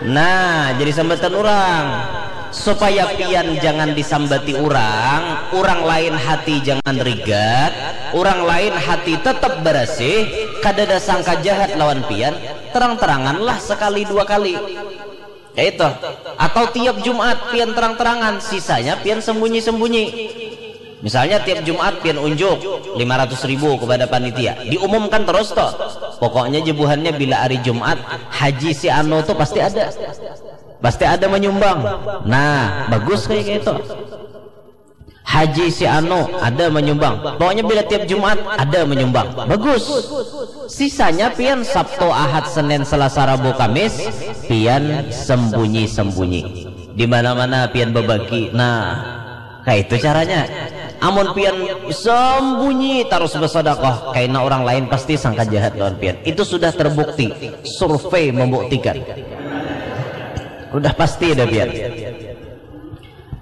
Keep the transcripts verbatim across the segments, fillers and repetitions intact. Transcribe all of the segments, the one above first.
Nah, jadi sambatan urang. Supaya pian jangan disambati urang, urang lain hati jangan rigat, urang lain hati tetap barasih, kadada sangka jahat lawan pian, terang-teranganlah sekali dua kali. Kaitu. Atau tiap Jumat pian terang-terangan, sisanya pian sembunyi-sembunyi. Misalnya tiap Jumat pian unjuk lima ratus ribu kepada panitia, diumumkan terus tuh. Pokoknya jebuhannya bila hari Jumat, haji si anu tuh pasti ada. Pasti ada menyumbang. Nah, bagus kayak gitu. Haji si anu ada menyumbang. Pokoknya bila tiap Jumat ada menyumbang. Bagus. Sisanya pian Sabtu, Ahad, Senin, Selasa, Rabu, Kamis, pian sembunyi-sembunyi. Di mana-mana pian bebagi. Nah, kayak itu caranya. Amun pian sembunyi terus bersedekah, kaina orang lain pasti sangka jahat lawan pian. Itu sudah terbukti. Survei membuktikan. Udah pasti ada pian.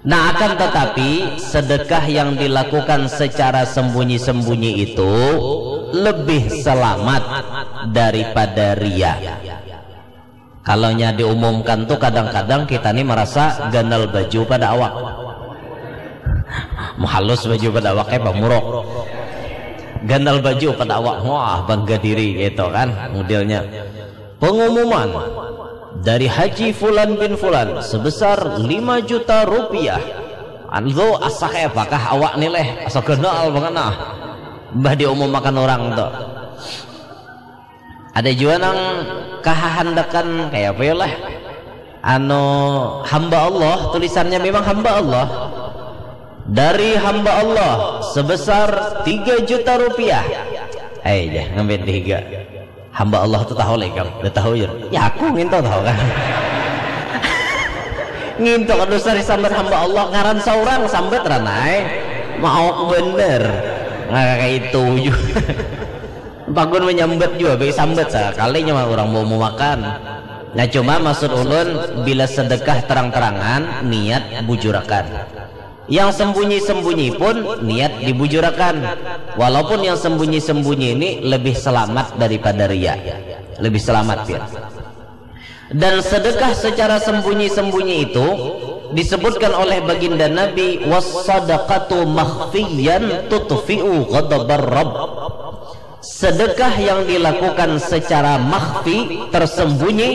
Nah, akan tetapi, sedekah yang dilakukan secara sembunyi-sembunyi itu lebih selamat daripada ria. Kalau nya diumumkan tuh, kadang-kadang kita nih merasa ganal baju pada awak. Mahalus baju pada awak kayak pamurok. Ganal baju pada awak, wah, bangga diri gitu kan modelnya. Pengumuman dari Haji Fulan bin Fulan sebesar lima juta rupiah. Anu asa kayak apakah awak nih leh, asa ganal banget nah. Mbah diumumakan orang tuh. Ada jua nang kahahandakan kayak apa ya lah. Anu, hamba Allah, tulisannya memang hamba Allah. Dari hamba Allah sebesar tiga juta rupiah. Eh, dah ngambil tiga. Hamba Allah tuh tahu lah ikam, udah tahu ya. Ya aku nginto tahu kan. Nginto kada usah disambat hamba Allah, ngaran seorang sambat ranai. Mau bener. Nah, kayak itu juga. Pagun menyambat juga, baik sambat sekalinya mah orang mau makan. Nah, cuma maksud ulun, bila sedekah terang-terangan, niat bujurakan. Yang sembunyi-sembunyi pun niat dibujurakan. Walaupun yang sembunyi-sembunyi ini lebih selamat daripada ria. Lebih selamat, ya. Dan sedekah secara sembunyi-sembunyi itu disebutkan oleh baginda Nabi, "Was-sadaqatu makhfiyan tutfi'u ghadabar Rabb." Sedekah yang dilakukan secara makhfi, tersembunyi,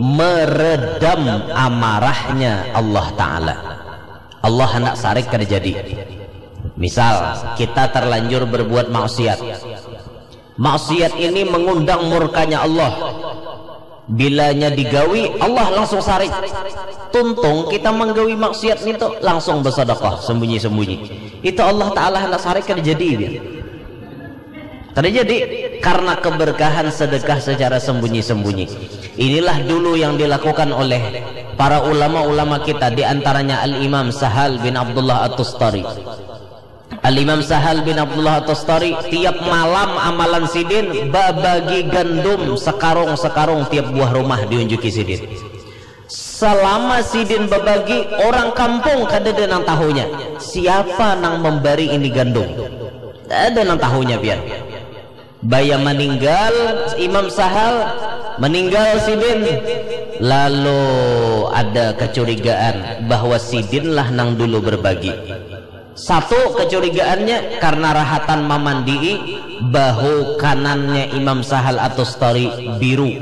meredam amarahnya Allah Ta'ala. Allah hendak sarik kada jadi. Misal, kita terlanjur berbuat maksiat. Maksiat ini mengundang murkanya Allah. Bilanya digawi, Allah langsung sarik. Tuntung kita menggawi maksiat itu langsung bersedekah sembunyi-sembunyi. Itu Allah Ta'ala hendak sarik kada jadi. Kada jadi karena keberkahan sedekah secara sembunyi-sembunyi. Inilah dulu yang dilakukan oleh para ulama-ulama kita, di antaranya Al-Imam Sahal bin Abdullah At-Tustari. Al-Imam Sahal bin Abdullah At-Tustari, tiap malam amalan sidin babagi gandum sekarung-sekarung tiap buah rumah diunjuki sidin. Selama sidin babagi, orang kampung kadada nang tahunya. Siapa nang memberi ini gandum? Kada ada nang tahunya pian. Baya meninggal Imam Sahal, meninggal sidin. Lalu ada kecurigaan bahwa sidinlah nang dulu berbagi. Satu kecurigaannya karena rahatan mamandii, bahu kanannya Imam Sahal At-Tustari biru.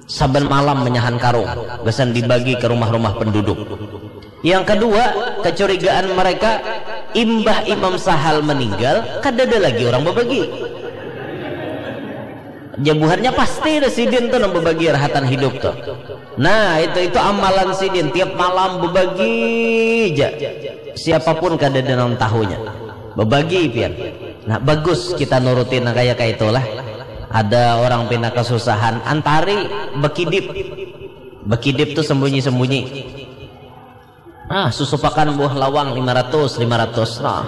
Saban malam menyahan karung, gasan dibagi ke rumah-rumah penduduk. Yang kedua, kecurigaan mereka, imbah Imam Sahal meninggal, kadada lagi orang babagi. Jabuhannya pasti ada sidin tuh nang babagi rahatan hidup tuh. Nah, itu itu amalan sidin tiap malam babagi aja. Siapapun kadada nang tahunya. Babagi pian. Nah, bagus kita nurutin nang kaya kaitulah. Ada orang pina kesusahan, antari bekidip. Bekidip tuh sembunyi-sembunyi. Ah, susupakan buah lawang lima ratus, lima ratus. Nah.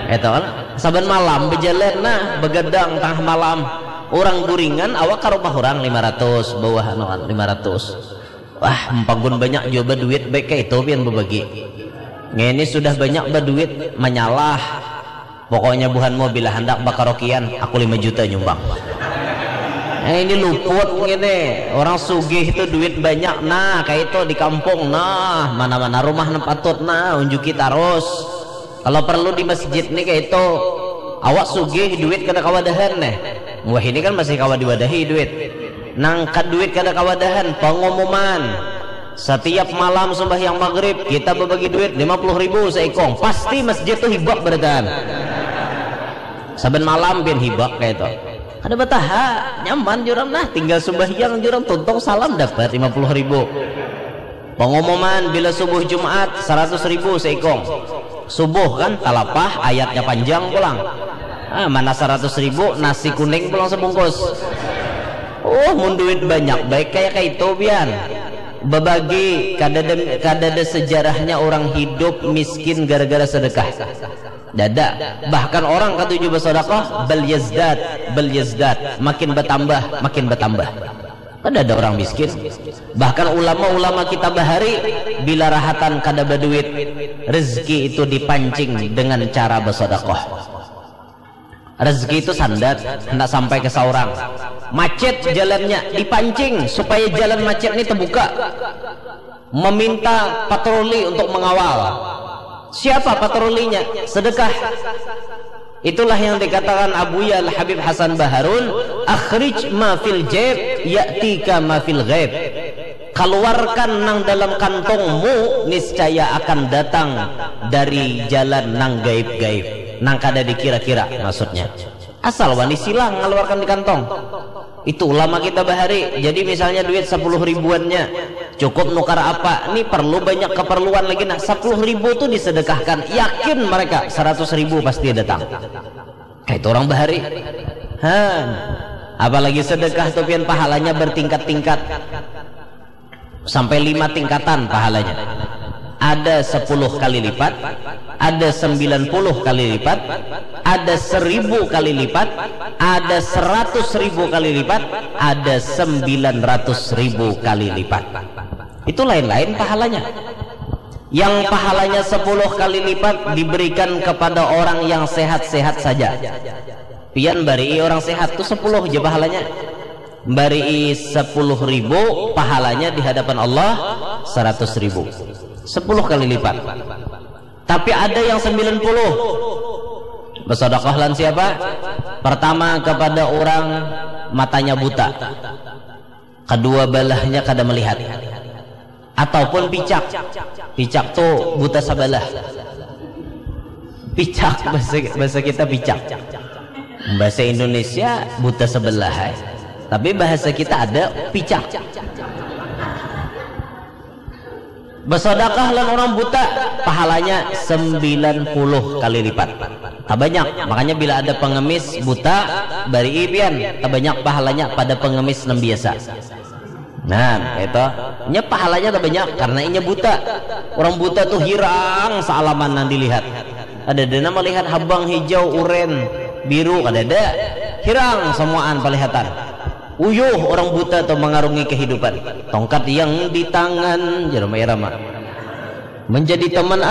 Itu kan saban malam bejalan nah, begadang tengah malam. Orang guringan awak ke rumah orang lima ratus, bawah anu kan lima ratus. Wah, empagun banyak juga duit baik kayak itu pian berbagi. Ini sudah banyak berduit menyalah. Pokoknya buhanmu bila hendak bakarokian, aku lima juta nyumbang. Eh, ini luput ngini, orang sugih itu duit banyak, nah, kayak itu di kampung, nah, mana-mana rumah nang patut, nah, unjuki tarus. Kalau perlu di masjid nih kayak itu, awak sugih duit kada kawadahan nih. Wah, ini kan masih kawa diwadahi duit. Nangkat duit kada kawadahan, pengumuman. Setiap malam sembahyang maghrib, kita berbagi duit lima puluh ribu seikong. Pasti masjid tuh hibak berataan. Saban malam pian hibak kayak itu. Kada bataha, nyaman jurang nah, tinggal sembahyang jurang, tuntung salam dapat lima puluh ribu. Pengumuman bila subuh Jumat, seratus ribu seikong. Subuh kan, talapah, ayatnya panjang pulang. Ah, mana seratus ribu, nasi kuning pulang sebungkus. Oh, mun duit banyak, baik kayak kayak itu, pian. Babagi, kada ada, kada ada sejarahnya orang hidup miskin gara-gara sedekah. Dada. Bahkan orang katuju bersedekah, bal yazdad, bal yazdad, makin bertambah, makin bertambah. Kada ada orang miskin. Bahkan ulama-ulama kita bahari, bila rahatan kada berduit, rezeki itu dipancing dengan cara bersedekah. Rezeki itu sandat, hendak sampai ke seorang. Macet jalannya, dipancing supaya jalan macet ini terbuka. Meminta patroli untuk mengawal. Siapa patrolinya? Sedekah. Itulah yang dikatakan Abuya Al Habib Hasan Baharun, "Akhrij ma fil jaib, ya'tika ma fil ghaib." Keluarkan nang dalam kantongmu, niscaya akan datang dari jalan nang gaib-gaib, nang kada dikira-kira maksudnya. Asal wani silang ngaluarkan di kantong. Itu ulama kita bahari. Jadi misalnya duit sepuluh ribuannya, cukup nukar apa? Ini perlu banyak keperluan lagi. Nah, sepuluh ribu tuh disedekahkan. Yakin mereka, seratus ribu pasti datang. Kayak itu orang bahari. Han. Apalagi sedekah tuh pian pahalanya bertingkat-tingkat. Sampai lima tingkatan pahalanya. Ada sepuluh kali lipat, ada sembilan puluh kali lipat, ada seribu kali lipat, ada seratus ribu kali lipat, ada sembilan ratus ribu kali lipat. Itu lain-lain pahalanya. Yang pahalanya sepuluh kali lipat diberikan kepada orang yang sehat-sehat saja. Pian barii orang sehat tu sepuluh ja pahalanya. Barii sepuluh ribu, pahalanya di hadapan Allah seratus ribu. Sepuluh kali lipat. Tapi ada yang sembilan puluh. Bersedekah lan siapa? Pertama kepada orang matanya buta. Kedua belahnya kada melihat. Ataupun picak. Picak tu buta sebelah. Picak, bahasa, bahasa kita picak. Bahasa Indonesia buta sebelah, eh. Tapi bahasa kita ada picak. Bersedekah lan orang buta, pahalanya sembilan puluh kali lipat. Tabanyak, makanya bila ada pengemis buta, barii pian, tabanyak pahalanya pada pengemis nang biasa. Nah, itu. Nya pahalanya tabanyak karena inya buta. Orang buta tuh hirang sealaman nang dilihat. Ada dana melihat habang hijau, uren, biru, kada ada. Hirang semuaan pelihatan. Uyuh orang buta tuh mengarungi kehidupan. Tongkat yang di tangan, jeram irama. Menjadi teman